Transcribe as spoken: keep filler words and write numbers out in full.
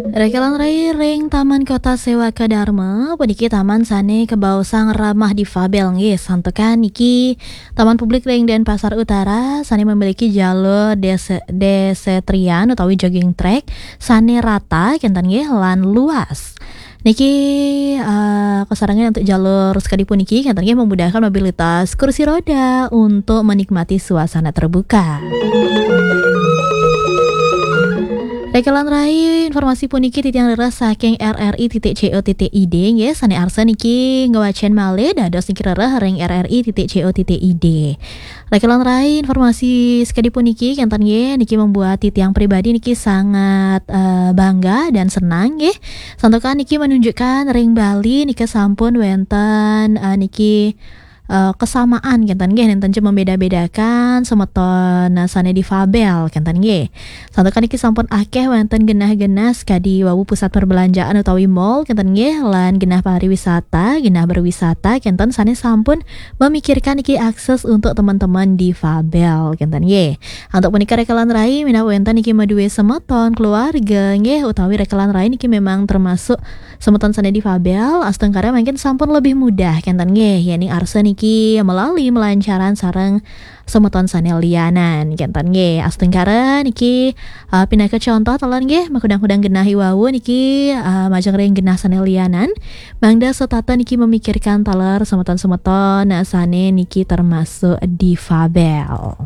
Rekelan rai ring Taman Kota Sewaka Dharma, puniki taman sane kabaosang ramah difabel nggih, santukan niki Taman Publik ring Denpasar Utara sane memiliki jalur dese-, desetrian utawi jogging track sane rata kenten nggih lan luas. Niki, eh, kasarengan untuk jalur sekadi puniki kenten nggih memudahkan mobilitas kursi roda untuk menikmati suasana terbuka. Rekelan rai, informasi puniki titiang rereh saking R R I titik C O titik I D nggih, sane arsa niki ngwacen malih dados niki rereh ring R R I titik C O titik I D. Rekelan rai, informasi sekadi puniki kenten nggih, niki membuat titiang pribadi niki sangat, eh, bangga dan senang nggih. Santukan niki menunjukkan ring Bali nika sampun wenten, eh, niki eh, kesamaan kenten nggih, nenten ja membeda-bedakan semeton, eh, sane difabel kenten nggih. Santukan niki sampun akeh wenten genah-genah kadi wau pusat perbelanjaan utawi mall kenten nggih, lan genah pariwisata, genah berwisata kenten sane sampun memikirkan niki akses untuk teman-teman difabel kenten nggih. Antuk punika rekelan rai, minab wenten niki madue semeton, keluarga nggih, utawi rekelan rai niki memang termasuk semeton sane difabel, astungkara mangkin sampun lebih mudah kenten nggih, yening arsa niki melalui melancaran sareng semeton sane lianan kenten nggih. Astungkara niki, eh, pinaka contoh taler nggih, makudang-kudang genah iwau niki, eh, majeng ring genah sane lianan, mangda setata niki memikirkan taler semeton-semeton sane niki termasuk difabel.